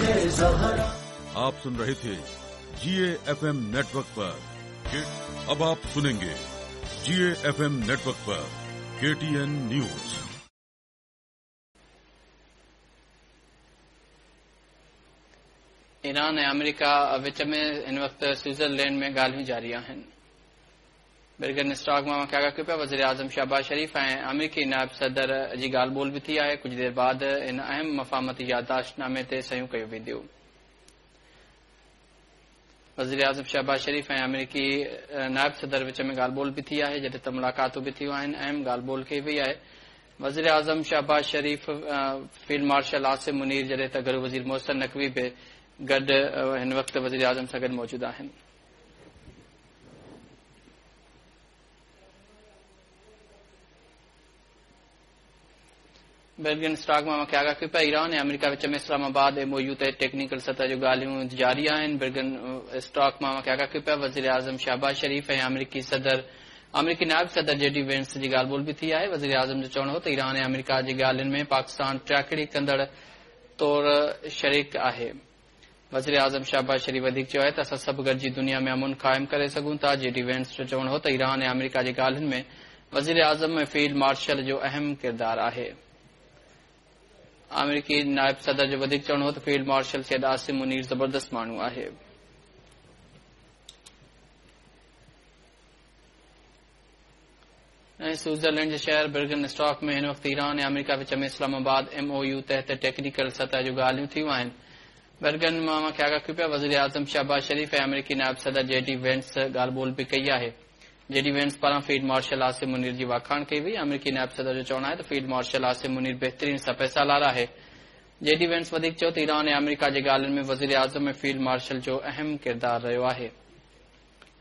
ज़हरा। आप सुन रहे थे जीए FM network पर। अब आप सुनेंगे जीए एफएम नेटवर्क पर केटीएन न्यूज। ईरान ऐं अमेरिका विच में हिन वक़्तु स्विट्ज़रलैंड में ॻाल्हियूं जारी आहिनि। बर्गन स्टॉक मां आगाह कयो पिया, वज़ीर आज़म शहबाज शरीफ ऐं अमेरिकी नायब सदर जी ॻाल्हि ॿोल बि थी आहे। कुझु देरि बाद इन अहम मफ़ाहमती यादाश्तनामे ते सहियूं कयूं वेंदियूं। वज़ीर आज़म शहबाज शरीफ ऐं अमेरिकी नायब सदर विच में ॻाल्हि ॿोल बि थी आहे, जॾहिं त मुलाक़ातूं बि थियूं आहिनि, अहम ॻाल्हि ॿोल कई वई आहे। वज़ीर आज़म शहबाज शरीफ, फील्ड मार्शल आसिम मुनीर, जॾहिं त घरू वज़ीर मोहसिन नकवी बि गॾु हिन वक़्तु वज़ीर आज़म सां गॾु मौजूदु आहिनि। बर्गन स्टॉक मां मूंखे आगाह कयो पिया, ईरान ऐं अमेरिका विच में इस्लामाबाद एमओयू ते टेक्निकल सतह जूं ॻाल्हियूं जारी आहिनि। बर्गन स्टॉक मां मूंखे आगाह कयो पिया, वज़ीर आज़म शहबाज शरीफ ऐं अमेरिकी नायब सदर जेडी वेंस जी ॻाल्हि ॿोल बि थी आहे। वज़ीर आज़म जो चवणु हो त ईरान ऐं अमेरिका जी ॻाल्हियुनि में पाकिस्तान टाकड़ी कंदड़ तौर शरीक आहे। वज़ीर आज़म शहबाज शरीफ वधीक चयो आहे त असां सभु गॾिजी दुनिया में अमन क़ाइमु करे सघूं था। जेडी वेंस जो चवणु हो त ईरान ऐं अमेरिका जी ॻाल्हियुनि में वज़ीर आज़म ऐं फील्ड मार्शल जो अहम किरदारु आहे। अमेरिकी नायब सदर जो वधीक चवणु हो त फील्ड मार्शल सैयद आसिम मुनीर ज़बरदस्त माण्हू आहे। ऐं स्विट्ज़रलैंड जे शहर बर्गन स्टॉक में हिन वक़्तु ईरान ऐं अमेरिका विच में इस्लामाबाद एमओयू तहत टेक्निकल सतह जूं ॻाल्हियूं थियूं आहिनि। बर्गन मां मूंखे आगाह कयो पिया, वज़ीर आज़म शहबाज शरीफ ऐं अमेरिकी नायब सदर जेडी वेंस ॻाल्हि ॿोल बि कई आहे। जेडी वेंस पारां फील्ड मार्शल आसिम मुनीर जी वाखाण कई वई। अमेरिकी नायब सदर जो चवणु आहे त फील्ड मार्शल आसिम मुनीर बहितरीन सपह-सालार आहे। जेडी वेंस वधीक चयो त ईरान ऐं अमेरिका जे ॻाल्हियुनि में वज़ीर आज़म ऐं फील्ड मार्शल जो अहम किरदारु रहियो आहे।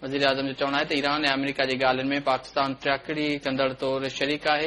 वज़ीर आज़म जो चवणु आहे त ईरान ऐं अमेरिका जे ॻाल्हियुनि में पाकिस्तान टाकड़ी कंदड़ तौर शरीक आहे।